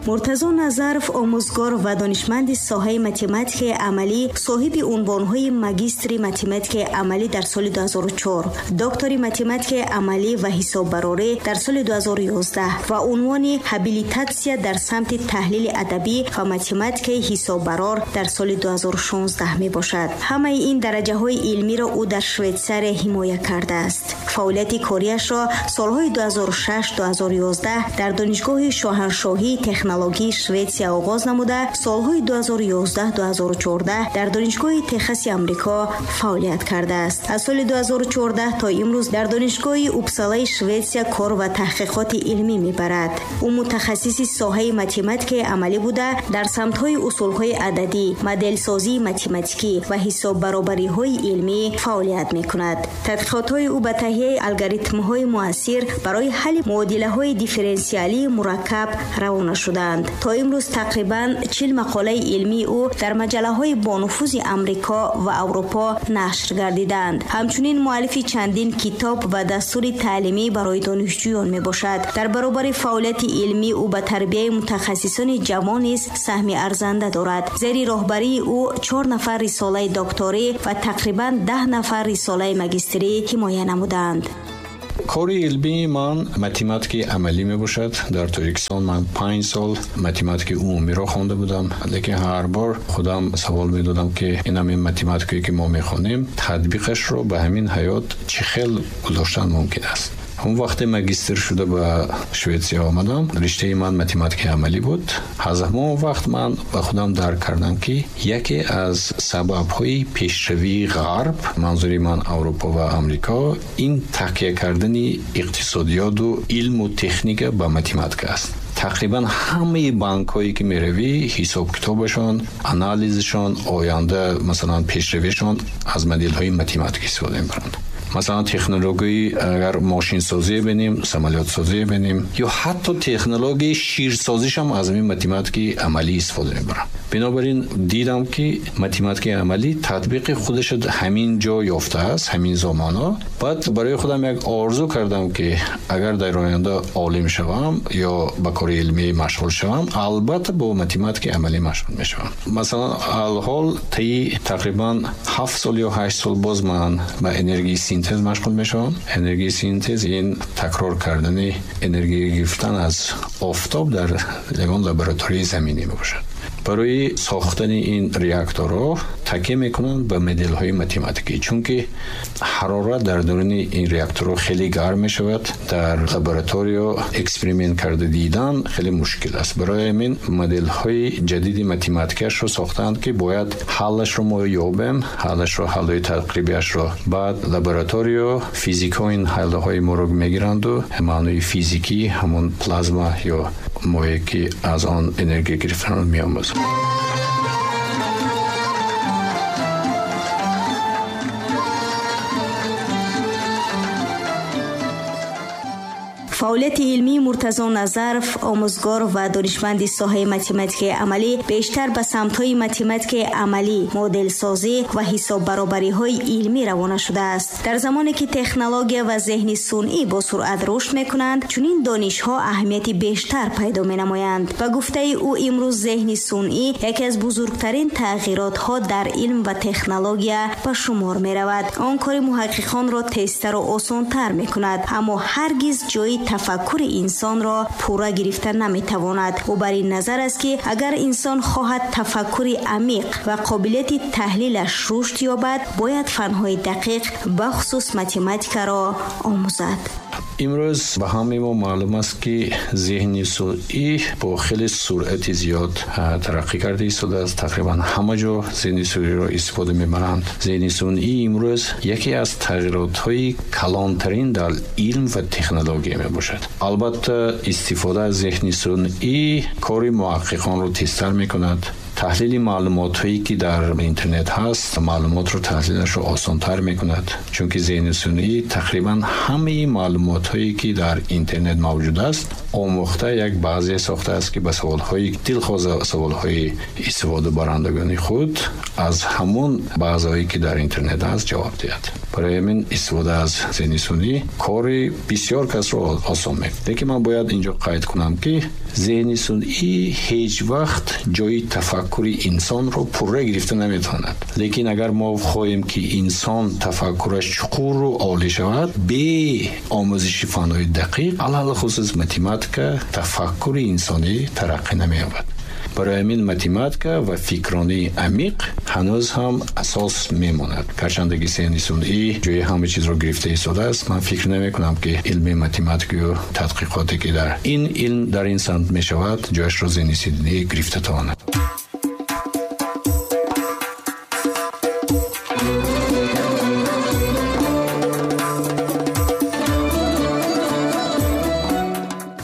Муртазо Назаров омӯзгор ва донишманди соҳаи математикаи амалӣ, соҳиби унвонҳои магистри математикаи амалӣ дар соли 2004, доктори математикаи амалӣ ва ҳисоббарорӣ дар соли 2011 ва унвони ҳабилитатсия дар самти таҳлили адабӣ ва математикаи ҳисоббарор дар соли 2016 мебошад. Ҳамаи ин дараҷаҳои илмиро ӯ дар Швейтсария ҳимоя кардааст. Фаъолияти кориашро солҳои 2006-2011 дар Донишгоҳи Шоҳаншоҳии технологии Шветсия оғоз намуда, солҳои 2011-2014 дар Донишгоҳи Техаси Амрико фаъолият кардааст. Аз соли 2014 то имрӯз дар Донишгоҳи Упсалаи Шветсия кор ва таҳқиқоти илмӣ мебарад. Ӯ мутахассиси соҳаи математикаи амалӣ буда, дар самтҳои усулҳои ададӣ, моделсозии математикӣ ва ҳисоббаробариҳои илмӣ фаъолият мекунад. Тадқиқотҳои ӯ ба таҳияи алгоритмҳои муассир барои ҳалли муодилаҳои дифференсиалии мураккаб равона шудаанд. То имрӯз тақрибан 40 мақолаи илмии ӯ дар маҷаллаҳои бонуфузи Амрико ва Аврупо нашр гардидаанд. Ҳамчунин муаллифи чандин китоб ва дастури таълимӣ барои донишҷӯён мебошад. Дар баробари фаъолияти илмӣ ӯ ба тарбияи мутахассисони ҷавон низ саҳми арзанда дорад. Зери роҳбарии ӯ 4 нафар рисолаи докторӣ ва тақрибан 10 нафар рисолаи магистрӣ ҳимоя намудаанд. Кори илмии ман математикаи амалӣ мебошад. Дар Тоҷикистон ман 5 сол математикаи умумиро хонда будам, лекин ҳар бор худам савол медодам, ки ин ҳамин математикае ки мо мехонем, татбиқашро ба ҳамин ҳаёт чӣ хел гузоштан мумкин аст. Он вақте магистр шуда ба Шветсия омадам, риштаи ман математикаи амалӣ буд. Аз ҳамон вақт ман ба худам дарк кардам, ки яке аз сабабҳои пешравии Ғарб, манзури ман Аврупо ва Амрико, ин такя кардани иқтисодиёту илму техника ба математика аст. Тақрибан ҳамаи банкҳое ки меравӣ, ҳисобкитобашон, анализашон, оянда масалан пешравишон аз моделҳои математика истифода мебаранд. Масалан, технологияи агар мошинсозие бинем, самолётсозие бинем, ё ҳатто технологияи ширсозишам аз ҳамин математикаи амалӣ истифода мебаранд. Бинобар ин дидам, ки математикаи амалӣ татбиқи худаш ҳамин ҷо ёфтааст, ҳамин замонҳо. Баъд барои худам як орзу кардам, ки агар дар оянда олим шавам ё ба кори илмӣ машғул шавам, албатта бо математикаи амалӣ машғул мешавам. Масалан, алҳол таи тақрибан 7 сол ё 8 сол боз ман ба энергияи синтез машғул мешавам. Энергияи синтез ин такрор кардани энергия гирифтан аз офтоб дар ягон лабораторияи заминӣ мебошад. Барои сохтани ин реакторҳо такя мекунанд ба моделҳои математикӣ, чунки ҳарорат дар даруни ин реакторҳо хеле гарм мешавад. Дар лабораториё эксперимент карда дидан хеле мушкил аст. Барои ҳамин моделҳои ҷадиди математикиашро сохтаанд, ки бояд ҳаллашро мо ёбем, ҳаллашро, ҳаллҳои тақрибиашро. Баъд лабораториё физикҳо ин ҳаллҳои моро мегиранду маънои физикӣ ҳамон плазма ё моее ки аз он энергия гирифтанро меомӯзанд. Фаъолияти илмии Муртазо Назаров, омӯзгор ва донишманди соҳаи математикаи амалӣ, бештар ба самтҳои математикаи амалӣ, моделсозӣ ва ҳисоббаробариҳои илмӣ равона шудааст. Дар замоне ки технология ва зеҳни сунъӣ бо суръат рушд мекунанд, чунин донишҳо аҳамияти бештар пайдо менамоянд. Ба гуфтаи ӯ, имрӯз зеҳни сунъӣ яке аз бузургтарин тағйиротҳо дар илм ва технология ба шумор меравад. Он кори муҳаққиқонро тезтару осонтар мекунад, аммо ҳаргиз ҷои тафаккури инсонро пурра гирифта наметавонад. Ӯ бар ин назар аст, ки агар инсон хоҳад тафаккури амиқ ва қобилияти таҳлилаш рушд ёбад, бояд фанҳои дақиқ, бахусус математикаро омӯзад. Имрӯз ба ҳамаи мо маълум аст, ки зеҳни сунъӣ бо хеле суръати зиёд тараққӣ карда истодааст. Тақрибан ҳама ҷо зеҳни сунъиро истифода мебаранд. Зеҳни сунъӣ имрӯз яке аз тағйиротҳои калонтарин дар илм ва технология мебошад. Албатта, истифода аз зеҳни сунъӣ кори муҳаққиқонро тезтар мекунад. Таҳлили маълумотҳое ки дар интернет ҳаст, маълумотро таҳлилашро осонтар мекунад, чунки зеҳни сунъӣ тақрибан ҳамаи маълумотҳое ки дар интернет мавҷуд аст омӯхта, як баъзе сохтааст, ки ба саволҳои дилхоҳ, саволҳои истифодабарандагони худ аз ҳамон баъзеҳое ки дар интернет аст ҷавоб диҳад. Барои ҳамин истифода аз зеҳни сунъӣ кори бисёр касро осон мекунад. Лекин ман бояд инҷо қайд кунам, ки зеҳни сунъӣ ҳеҷ вақт ҷои тафаккури инсонро пурра гирифта наметавонад. Лекин агар мо хоҳем, ки инсон тафаккураш чуқуру олӣ шавад, бе омӯзиши фанҳои дақиқ, алалхусус математика, тафаккури инсонӣ тараққӣ намеёбад. Барои ҳамин математика ва фикронии амиқ ҳанӯз ҳам асос мемонад. Гарчанде ки зеҳни сунъӣ ҷои ҳама чизро гирифта истодааст, ман фикр намекунам, ки илми математикаю тадқиқоте, ки дар ин илм дар ин самт мешавад, ҷояшро зеҳни сунъӣ гирифта тавонад.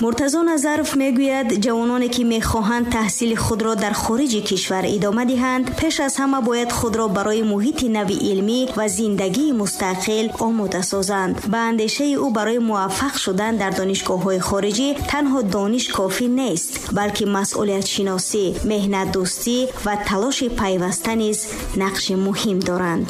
Муртазо Назаров мегӯяд, ҷавононе, ки мехоҳанд таҳсили худро дар хориҷи кишвар идома диҳанд, пеш аз ҳама бояд худро барои муҳити нави илмӣ ва зиндагии мустақил омода созанд. Ба андешаи ӯ, барои муваффақ шудан дар донишгоҳҳои хориҷӣ танҳо дониш кофӣ нест, балки масъулиятшиносӣ, меҳнатдӯстӣ ва талоши пайваста низ нақши муҳим доранд.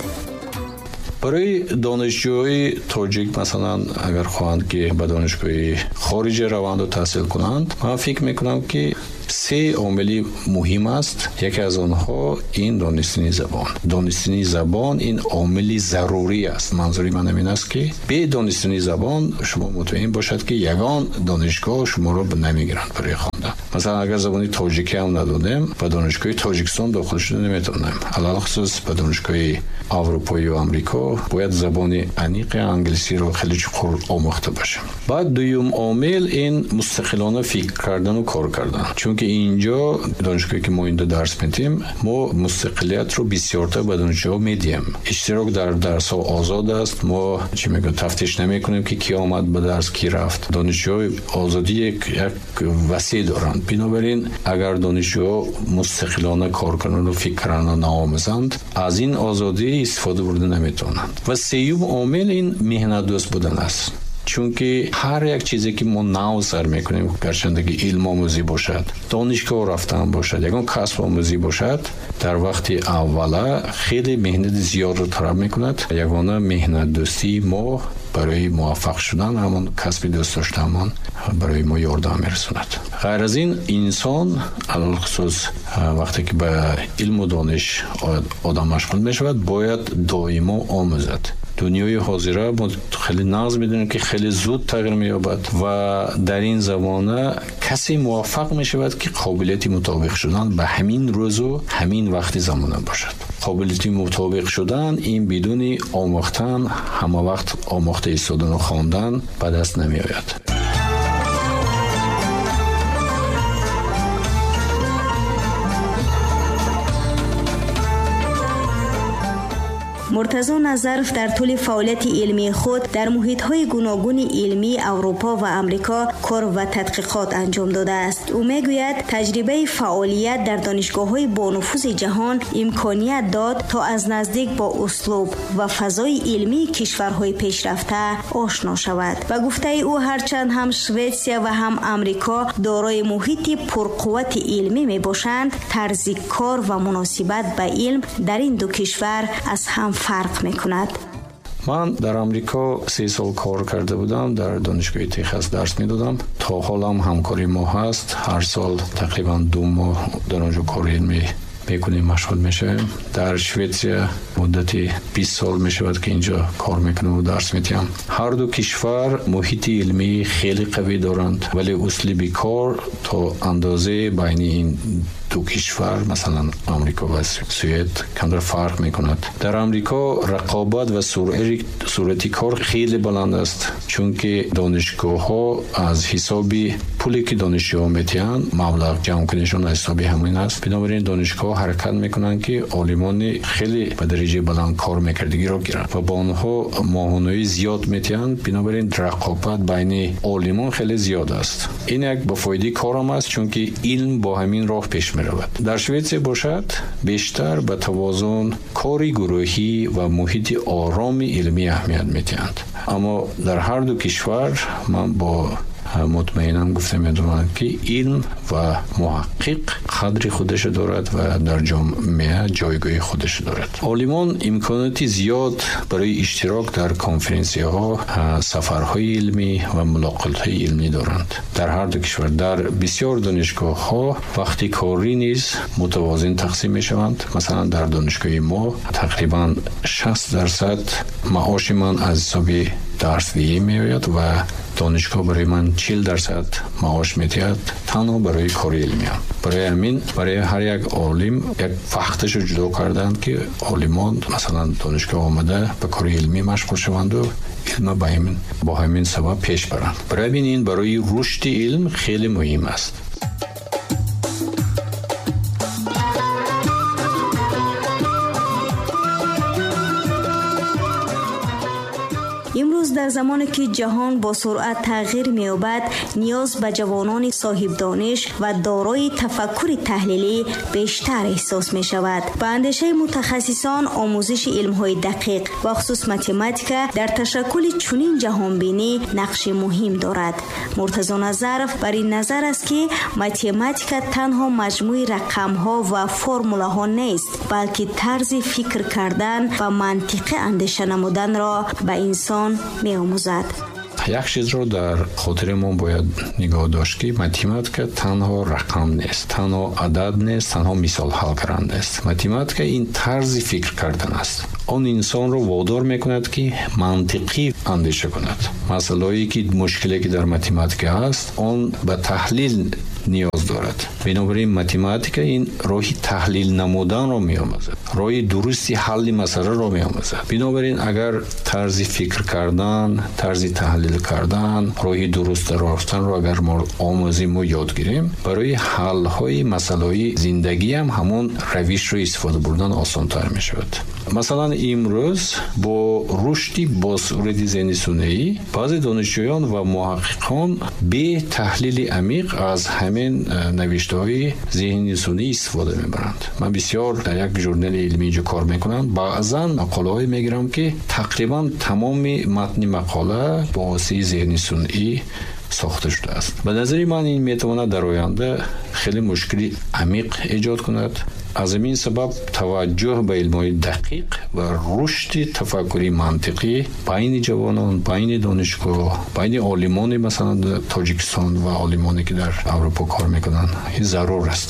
Барои донишҷӯи тоҷик, масалан, агар хоҳанд, ки ба донишгоҳи хориҷа раванду таҳсил кунанд, ман фикр мекунам, ки се омили муҳим аст. Яке аз онҳо ин донистани забон. Донистани забон ин омили зарурӣ аст. Манзури ман ҳамин аст, ки бе донистани забон шумо мутмаин бошад, ки ягон донишгоҳ шуморо намегиранд барои хондан. Масалан, агар забони тоҷикӣ ҳам надонем, ба донишгоҳи Тоҷикистон дохил шуда наметавонем. Алалхусус ба донишгоҳи Аврупоию Амрико бояд забони аниқи англисиро хеле чуқур омӯхта бошем. Баъд дуюм омил ин мустақилона фикр кардану кор кардан. Чунки инҷо донишгоҳе, ки мо инҷо дарс медиҳем, мо мустақилиятро бисёртар ба донишҷӯҳо медиҳем. Иштирок дар дарсҳо озод аст. Мо чӣ мегӯем, тафтиш намекунем, ки ки омад ба дарс, ки рафт. Донишҷӯҳои озодӣ як васеъ доранд. Бинобар ин агар донишҷӯҳо мустақилона кор кунанд, фикр кунанд, наомӯзанд, аз ин озодӣ истифода бурда наметавонанд. Ва сеюм омил ин меҳнатдӯст будан аст. Чунки ҳар як чизе, ки мо нав сар мекунем, гарчанде ки илмомӯзӣ бошад, донишгоҳ рафтан бошад, ягон касбомӯзӣ бошад, дар вақти аввала хеле меҳнати зиёдро талаб мекунад. Ягона меҳнатдӯстии мо барои муваффақ шудан, ҳамон касби дӯст доштаамон барои мо ёрдам мерасонад. Ғайр аз ин, инсон алалхусус вақте ки ба илму дониш одам машғул мешавад, бояд доимо омӯзад. Дунёи ҳозира мо хеле нағз медонем, ки хеле зуд тағйир меёбад ва дар ин замона касе муваффақ мешавад, ки қобилияти мутобиқ шудан ба ҳамин рӯзу ҳамин вақти замона бошад. Қобилияти мутобиқ шудан ин бидуни омӯхтан, ҳама вақт омӯхта истодану хондан ба даст намеояд. Муртазо Назаров дар тӯли фаъолияти илмии худ дар муҳитҳои гуногуни илмии Аврупо ва Амрико кор ва тадқиқот анҷом додааст. Ӯ мегӯяд, таҷрибаи фаъолият дар донишгоҳҳои бонуфузи ҷаҳон имконият дод, то аз наздик бо услуб ва фазои илмии кишварҳои пешрафта ошно шавад. Ба гуфтаи ӯ, ҳарчанд ҳам Шветсия ва ҳам Амрико дорои муҳити пурқуввати илмӣ мебошанд, тарзи кор ва муносибат ба илм дар ин ду кишвар аз ҳам фарқ мекунад. Ман дар Амрико 3 сол кор карда будам, дар донишгоҳи Техас дарс медодам. То ҳолам ҳамкори мо ҳаст. Ҳар сол тақрибан 2 моҳ дар он ҷо кори илмӣ мекунем, машғул мешавем. Дар Шветсия муддати 20 сол мешавад, ки инҷо кор мекунам ва дарс медиҳам. Ҳар ду кишвар муҳити илмӣ хеле қавӣ доранд, вале услуби кор то андозае байни ин ду кишвар, масалан Амрико ва Суед, камтар фарқ мекунад. Дар Амрико рақобат ва суръати кор хеле баланд аст, чунки донишгоҳҳо аз ҳисоби пуле, ки донишҷӯҳо медиҳанд, маблағ ҷамъкунишон аз ҳисоби ҳамин аст. Бинобар ин донишгоҳҳо ҳаракат мекунанд, ки олимони хеле ба дараҷаи баланд кор мекардагиро гиранд ва ба онҳо моҳонаи зиёд медиҳанд. Бинобар ин рақобат байни олимон хеле зиёд аст. Ин як ба фоидаи корам аст, чунки илм бо ҳамин роҳ пеш меравад. Дар Шветсия бошад, бештар ба тавозун, кори гурӯҳӣ ва муҳити ороми илмӣ аҳамият медиҳанд. Аммо дар ҳар ду кишвар ман бо Мутмаинан гуфта метавонам, ки илм ва муҳаққиқ қадри худашо дорад ва дар ҷомеа ҷойгоҳи худашо дорад. Олимон имконоти зиёд барои иштирок дар конференсияҳо, сафарҳои илмӣ ва мулоқотҳои илмӣ доранд. Дар ҳар ду кишвар дар бисёр донишгоҳҳо вақти корӣ низ мутавозин тақсим мешаванд. Масалан, дар донишгоҳи мо тақрибан 60% маоши ман аз ҳисоби дарсдиҳӣ меояд ва донишгоҳ барои ман 40% маош медиҳад танҳо барои кори илмиам. Барои ҳамин барои ҳар як олим як вақташо ҷудо карданд, ки олимон масалан донишгоҳ омада ба кори илмӣ машғул шаванду илма бо ҳамин сабаб пеш баранд. Барои ҳамин ин барои рушди илм хеле муҳим аст. Имрӯз дар замоне ки ҷаҳон бо суръат тағйир меёбад, ниёз ба ҷавонони соҳибдониш ва дорои тафаккури таҳлилӣ бештар эҳсос мешавад. Ба андешаи мутахассисон, омӯзиши илмҳои дақиқ ва хусус математика дар ташаккули чунин ҷаҳонбинӣ нақши муҳим дорад. Муртазо Назаров бар ин назар аст, ки математика танҳо маҷмӯи рақамҳо ва формулаҳо нест, балки тарзи фикр кардан ва мантиқӣ андеша намуданро ба инсон меомӯзад. Як чизро дар хотири мо бояд нигоҳ дошт, ки математика танҳо рақам нест, танҳо адад нест, танҳо мисол ҳал кардан нест. Математика ин тарзи фикр кардан аст. Он инсонро водор мекунад, ки мантиқӣ андеша кунад. Масъалаҳое ки мушкиле ки дар математика ҳаст, он ба таҳлил ниёз дорад. Бинобар ин математика ин роҳи таҳлил намуданро меомӯзад, роҳи дурусти ҳалли масъаларо меомӯзад. Бинобар ин агар тарзи фикр кардан, тарзи таҳлил кардан, роҳи дуруст рафтанро агар мо омӯзем ва ёд гирем, барои ҳалҳои масъалаҳои зиндагӣ ҳам ҳамон равишро истифода бурдан осонтар мешавад. Масалан, имрӯз бо рушди босуръати зеҳни сунъӣ баъзе донишҷӯён ва муҳаққиқон бе таҳлили амиқ аз ҳамин навиштаҳои зеҳни сунъӣ истифода мебаранд. Ман бисёр дар як журнали илмӣ инҷо кор мекунам, баъзан мақолаҳое мегирам, ки тақрибан тамоми матни мақола бо воситаи зеҳни сунъӣ сохта шудааст. Ба назари ман ин метавонад дар оянда хеле мушкили амиқ эҷод кунад. Аз ҳамин сабаб таваҷҷӯҳ ба илмҳои дақиқ ва рушди тафаккури мантиқӣ байни ҷавонон, байни донишгоҳ, байни олимони масалан Тоҷикистон ва олимоне ки дар Аврупо кор мекунанд, ин зарур аст.